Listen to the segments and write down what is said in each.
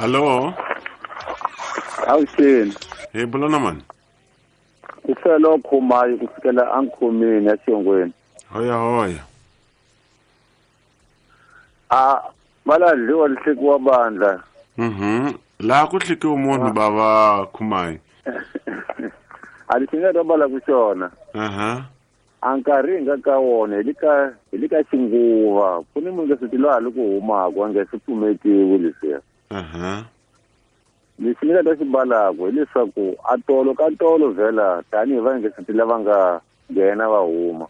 Hallo. Avuxeni. Hi bula na mani? Ku fela khumayi ku fikela ankhomeni ya xiyongweni. Hoya hoya. A va la dliwa lihlekiwa bandla. Laha ku hlekiwe munhu bava khumayi. A lexi nga ta bala ku xona. A nkarhi hi nga ka wona hi le ka xinguva ku ni munhu leswi loyi a li ku humaka a nga swi pfumetiwi leswiya. Lexi ni nga ta xi balaka hileswaku a tolo ka tolo vhela tanihi vaingeseti lava nga nghena va huma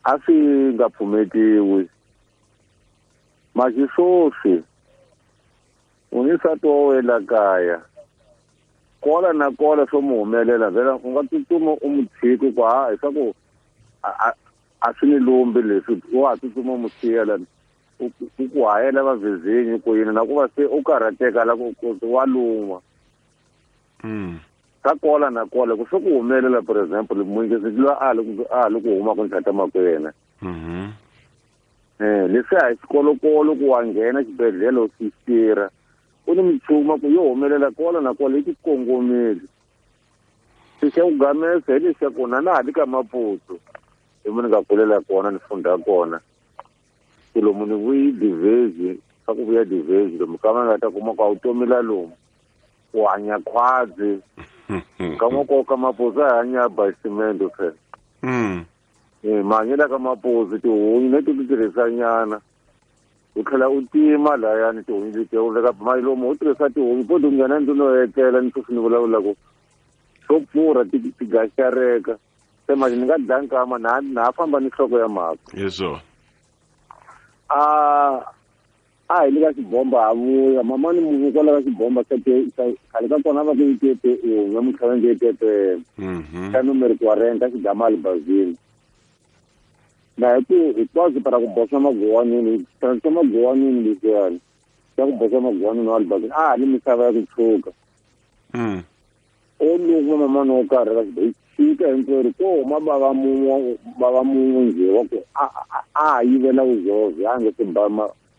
a swi nga pfumetiwi. Maxiswoswi u ni nsati wa wena kaya kola na kola swo mu humelela vhela u nga tsutsuma u mu tshiki ku ha leswaku a swi ni lumbi leswi wa ha tsutsuma u mu siya lani u ku hayela vavizinyi ku yini na ku va se u karhateka la ku wa lun'wa. Ka kola na kola ku swi ku humelela for example muyingisi loyi a ha li ku huma ku ntlhata mako yena. Leswi a hi xikolokolo ku wa nghena xibedhlele u swi tirha ku ni michuma ku yo humelela kola na kola yi ti kongomile. Xi xa ku gamesa hi lexaku na na ha li ka Maputo hi mo ni nga kulela kona ni funda kona. Ku lomu ni vuyi divezi swa ku vuya divezi lomu ka va nga ta kuma ku a wu tomi la lomu u hanya khwadzi ka n'woko ka Maputo a hanya basimende phela. Mahanyelo ka Maputo tihunyi leti ti tirhisa nyana u tlhela u tima layani tihunyi letiya u veka mali lomu u tirhisa tihunyi po ti nghena ndlwini yo etlela ni sweswi ni vulavulaka swo pfurha ti gaxareka se manje ni nga dlaya nkama na ha famba ni nhloko ya mhaka. Yeswo. A hi le ka xibomba ha vuya mama ni munhu kwala ka xibomba xa khale ka kona va ku yi tepe un'we mutlhela nge tepe xa numero 40 xigama albazini na hi ku hinkwaswo para ku boxa maguwanini xa maguwanini leswiyani xa ku boxa maguwanini wa albazini a ha ni misava ya ku tshuka. O luma mamani wo karhi ka xibomba xika hinkwerhu ko huma bava mun'we njhe wa ku a ha yivela vuzovhe a nge se ba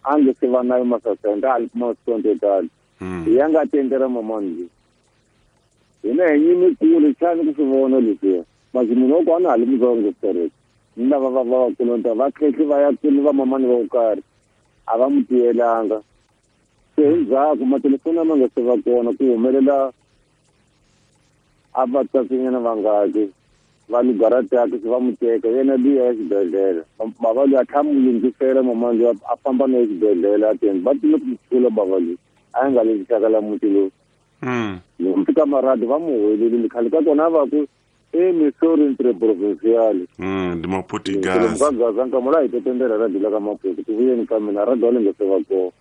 a nge se va nayo masasenda a li kuma sonto tala. Hi ya nga tendela mamani njhe hina hi nyimi kule xani ku swi vona leswiya masi munhu wa ku a na ha li mutsongo sitereke ni lava va va kulonta va tlhekli va ya kule va mamani va ku karhi a va mu tiyelanga. Se hi ndzhaku matelefoni a ma nga se va kona ku humelela a va tsatsinyana vangaki va lugarataki se va mu teka yena luya ya xibedhlele bava luya a tlha mu lunghisela mamani luya a famba na exibedhlele a teni va tile ku mu tshula bava luya a yi nga le xixaka la muti lowu. Loko fika maradi va mu huwelelile khale ka kona va ku emisori interprovincial. Ndi Maputo-Gaza. Gaza nka mola hi tetendela radi la ka Maputo ku vuyeni ka mina radi wa le nga se va kona.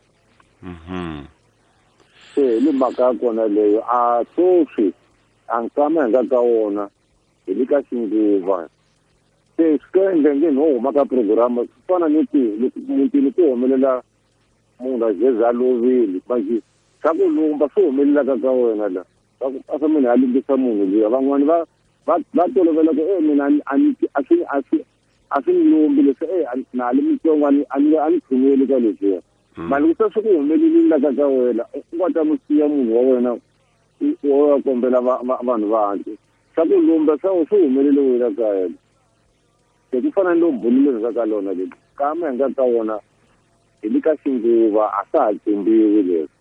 Se hi le mhaka ya kona leyo a sweswi a nkama hi nga ka wona hi le ka xinguva. Se swi ka endla nge no huma ka program swi fana ni ku loko mutini ku humelela munhu a jeza a lovile manje swa ku lumba swi humelelaka ka wena la swa ku a swa munhu a lunghisa munhu luya van'wani va va tolovela ku mina a ni a swi a swi a swi ni lumbi leswi na ha li mutsongo a ni tshungeli ka leswiya. Mali ku se swi ku humelelile la ka wena u nga ta mu siya munhu wa wena u ya kombela vanhu va hansi swa ku lumba swa swi humelele wena ka yena. Se ku fana ni lo bulile ka lona leri kama hi nga ka wona hi le ka xinguva a swa ha tshembiwi leswi.